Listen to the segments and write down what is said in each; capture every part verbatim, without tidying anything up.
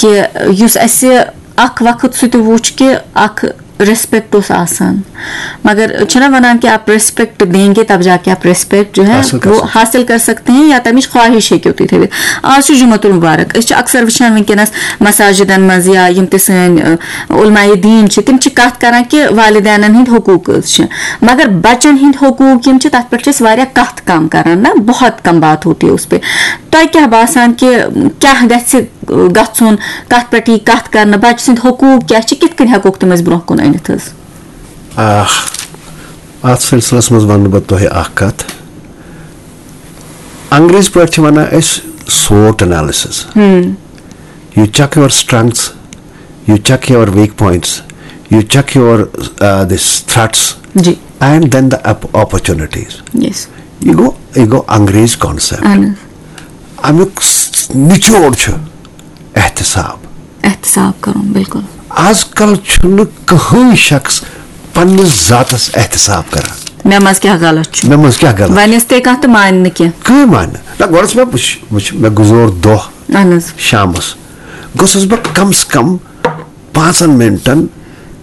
کہِ یُس اَسہِ اکھ وقت سُہ تہِ وُچھ کہِ اکھ ریسپیکٹ اوس آسان، مگر چھِنہ وَنان کہ آپ ریسپیکٹ دیں گے تب جا کے آپ ریسپیکٹ جو ہے حاصل کر وہ سکتے۔ حاصل کر سکتے ہیں یا تَمِچ خواہش ہیٚکِو تُہۍ تھٲوِتھ۔ آز چھُ جمعۃ المبارک، أسۍ چھِ اکثر وٕچھان وٕنکیٚنَس مساجدن منٛز یا یِم تہِ سٲنۍ، ٲ، علماء دیٖن چھِ، تِم چھِ کَتھ کَران کہِ والدینَن ہٕنٛدۍ حقوٗق حظ چھِ، مگر بَچَن ہٕنٛدۍ حقوٗق یِم چھِ، تَتھ پٮ۪ٹھ چھِ أسۍ واریاہ کَتھ کَم کَران نا، بہت کَم بات ہوتی ہے اس پہ۔ تۄہہِ کیٛاہ باسان کہِ کیٛاہ گژھِ گژھُن، کَتھ پٮ۪ٹھ یی کَتھ کَرنہٕ، بَچہٕ سٕنٛدۍ حقوٗق کیٛاہ چھِ، کِتھ کٔنۍ ہٮ۪کوکھ تِم أسۍ برٛونٛہہ کُن أنِتھ حظ؟ آہ، اَتھ سلسلس منٛز وَنہٕ بہٕ تۄہہِ اَکھ کَتھ۔ انگریزی پٲٹھۍ چھِ وَنان أسۍ SWOT analysis. You check your strengths, you check your weak points, you check your, uh, this threats, G. And then the op- opportunities. یس۔ یہِ گوٚو یہِ گوٚو انگریز کانسیپٹ۔ اہن حظ۔ اَمیُک س- نچوڑ چھُ احتساب۔ احتساب کرُن، بالکل۔ آز کل چھُنہٕ کٕہٕنۍ شخص پننِس ذاتس احتساب کران۔ مےٚ منٛز کیٛاہ غلط چھُ؟ مےٚ منٛز کیٛاہ غلط؟ وۄنۍ ٲس تہِ کانٛہہ تہٕ مانہِ نہٕ کینٛہہ۔ کٕہٕنۍ مانہِ نہٕ۔ نہ، گۄڈٕ ٲس مےٚ وٕچھ وٕچھ مےٚ گُزور دۄہ اہن حظ۔ شامس گوٚژھُس بہٕ کم سے کم پانٛژن منٹن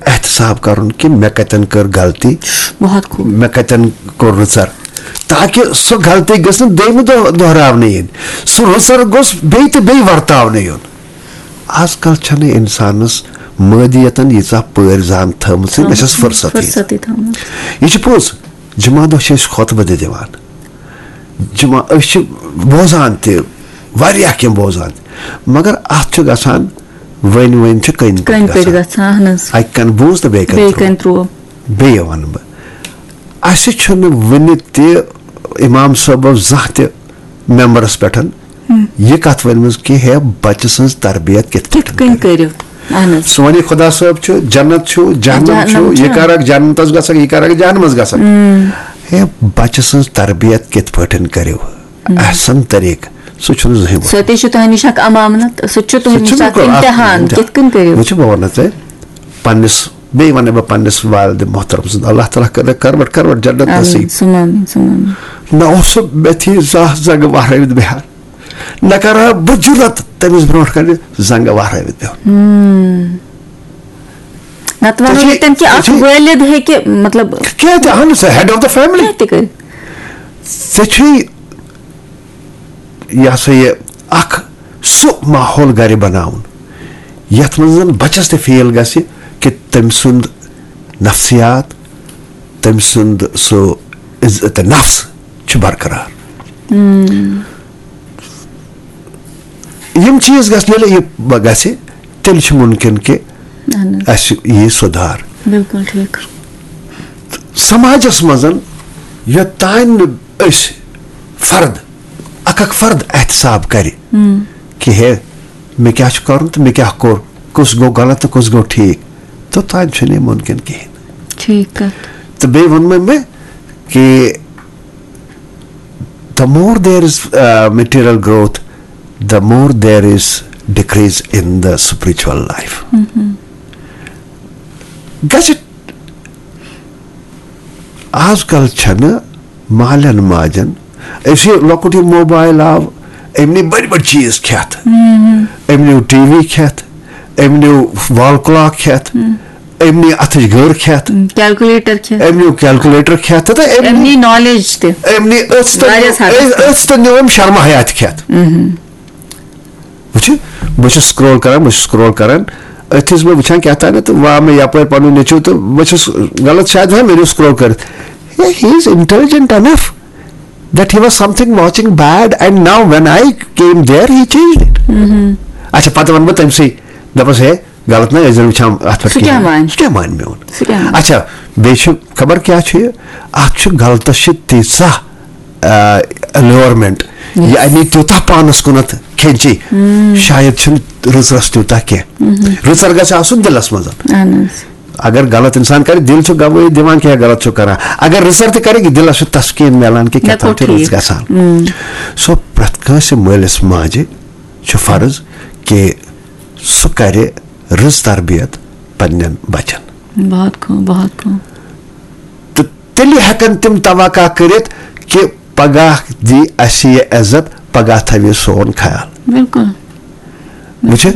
احتساب کرُن کہِ مےٚ کتٮ۪ن کٔر غلطی، بہت خوب۔ مےٚ کتٮ۪ن کوٚر رٕژر، تاکہِ سۄ غلطی گٔژھ نہٕ دوٚیمہِ دۄہ دۄہراونہٕ یِنۍ۔ سُہ رٕژر گوٚژھ بیٚیہِ تہٕ بیٚیہِ ورتاونہٕ یُن۔ آز کل چھنہٕ انسانس مٲدیتن ییٖژاہ پٲرۍ زان تھٲومٕژ، مےٚ چھس فرصت ییٖژاہ۔ فرصتٕے تھٲومٕژ۔ یہِ چھُ پوٚز، جمعہ دۄہ چھِ أسۍ خۄطبہٕ تہِ دِوان، جمعہ أسۍ چھِ بوزان تہِ، واریاہ کینٛہہ بوزان تہِ، مگر اتھ چھُ گژھان وۄنۍ وۄنۍ چھِ کٔنۍ پٮ۪ٹھ کٔنۍ پٮ۪ٹھ گژھان۔ گژھان، اہن حظ۔ اکہِ کنہٕ بوٗز تہٕ بیٚیہِ کنہٕ بیٚیہِ ترٛوو۔ کَنہِ ترٛوو۔ بیٚیہِ وَنہٕ بہٕ، اَسہِ چھُنہٕ وٕنہِ تہِ امام صٲبو زانٛہہ تہِ ممبرس پٮ۪ٹھ یہِ کتھ ؤنمٕژ کہِ ہے، بچہٕ سٕنٛز تربیت کِتھ کِتھ کٔنۍ کٔرِو؟ اہن حظ۔ سُہ وَنہِ خۄدا صٲب چھُ، جنت چھُ، جہنم جہنم چھُ، یہِ چھُ۔ کرکھ جنتس گژھکھ، یہِ کرکھ جہنمس گژھکھ۔ ہے، بچہٕ سٕنٛز تربیت کِتھ پٲٹھۍ کٔرِو؟ احسن طریقہٕ، سُہ چھُنہٕ زٕہٕنۍ ووٚتھمُت۔ سُہ تہِ چھُ تۄہہِ نِش اکھ امانت، سُہ تہِ چھُ تُہنٛد سُہ نِش چھُ اکھ بِلکُل اکھ امتحان، امتحان۔ کِتھ کٔنۍ کٔرِو؟ وٕچھِو، بہٕ وَنو تۄہہِ پننِس، بیٚیہِ وَنہٕ بہٕ پننِس والدِ محترم سُنٛد، اللہ تعالیٰ کٔرِنَکھ کروٹ کروٹ جنت آمیٖن، نصیٖب۔ ثم آمیٖن، ثم آمیٖن۔ نہ اوس سُہ مےٚ تھی زانٛہہ زنٛگہٕ وہرٲوِتھ بیٚہان، نہ کرٕ ہا بہٕ جُرت تٔمِس برونٛٹھ کنہِ زنٛگہٕ وہرٲوِتھ بیٚہُن۔ نتہٕ ونو تُہۍ چھِو- ییٚتٮ۪ن کہِ تُہۍ اکھ چھِو- وٲلد ہیٚکہِ، مطلب، کینٛہہ تہِ اہن سا، head of the family۔ کینٛہہ تہِ کٔرِتھ۔ ژےٚ چھُے یہِ ہسا یہِ اکھ سُہ ماحول گرِ بناوُن، یتھ منٛز زن بچس تہِ فیل گژھِ کہِ تٔمۍ سُنٛد نفسیات، تٔمۍ سُنٛد سُہ عزت نفس چھُ برقرار۔ یِم چیٖز گژھِ، ییٚلہِ یہِ گژھِ، تیٚلہِ چھُ مُمکِن کہِ اہن حظ۔ اَسہِ یی سُدھار۔ بالکل ٹھیٖک۔ سماجس منٛز یوٚتام نہٕ أسۍ فرد، اکھ اکھ فرد احتساب کرِ کہِ ہے، مےٚ کیٛاہ چھُ کرُن تہٕ مےٚ کیٛاہ کوٚر، کُس گوٚو غلط تہٕ کُس گوٚو ٹھیٖک، توٚتام چھُنہٕ یہِ مُمکِن کِہیٖنۍ۔ ٹھیٖک کتھ۔ تہٕ بیٚیہِ ووٚن مےٚ مےٚ کہِ the more there is, uh, material growth, the more there is decrease in the spiritual life. گژھِ آز کل چھنہٕ مالٮ۪ن ماجن، أسۍ یہِ لۄکُٹ یہِ موبایل آو، أمۍ نی بٔڑۍ بٔڑۍ چیٖز کھٮ۪تھ، أمۍ نیو ٹی وی کھٮ۪تھ، أمۍ نیو وال کلاک کھٮ۪تھ، أمۍ نی اتھٕچ گٔر کھٮ۪تھ، کیلکولیٹر کھٮ۪تھ۔ أمۍ نیو کیلکولیٹر کھٮ۪تھ تہٕ أمۍ أمۍ نی نالیج تہِ۔ أمۍ نی أژھ تہٕ واریاہس نیو، حدس تام۔ أژھ تہٕ نیو أمۍ شرما حیات کھٮ۪تھ۔ وٕچھِو، بہٕ چھُس سکرول کران، بہٕ چھُس سکرول کران، أتھۍ چھُس بہٕ وٕچھان کیٛاہ تام تہٕ واہ، مےٚ یپٲرۍ پنُن نیٚچوٗ تہٕ بہٕ چھُس غلط شاید ہا مےٚ نیوٗ سکرول کٔرِتھ۔ He is intelligent enough that he was something watching bad and now when I came there he changed it. اچھا، پتہٕ ونہٕ بہٕ تٔمۍ سٕے، دپس ہے، غلط نہ ٲسۍ زن وٕچھان اتھ پٮ۪ٹھ سُہ کیٛاہ کِہیٖنۍ۔ مانہِ؟ سُہ کیٛاہ مانہِ میون؟ سُہ کیٛاہ مانہِ؟ اچھا، بیٚیہِ چھُ خبر کیٛاہ چھُ یہِ، اتھ چھُ غلطس چھِ تیٖژاہ، آ، allurement، یہِ انہِ تیوٗتاہ پانس کُنتھ کھینچی، شاید چھُنہٕ رٕژرس تیوٗتاہ کینٛہہ۔ رٕژر گژھِ آسُن دِلس منٛز۔ اہن حظ۔ اگر غلط انسان کرِ، دِل چھُ گوٲہی دِوان کہِ ہے غلط چھُ کران۔ اگر رٕژر تہِ کرِ، دِلس چھُ تسکیٖن میلان کہِ کیٛاہ مےٚ کوٚر تام چھُ رٕژ ٹھیٖک۔ گژھان۔ سو پرٛٮ۪تھ کٲنٛسہِ مٲلِس ماجہِ چھُ فرض کہِ سُہ کرِ رٕژ تربیت پننٮ۪ن بچن۔ بہت خوب، بہت خوب۔ تہٕ تیٚلہِ ہٮ۪کن تِم توقع کٔرِتھ کہِ پگاہ دی اسہِ یہِ عزت، پگاہ تھاوِ سون خیال۔ بالکل۔ وٕچھِ،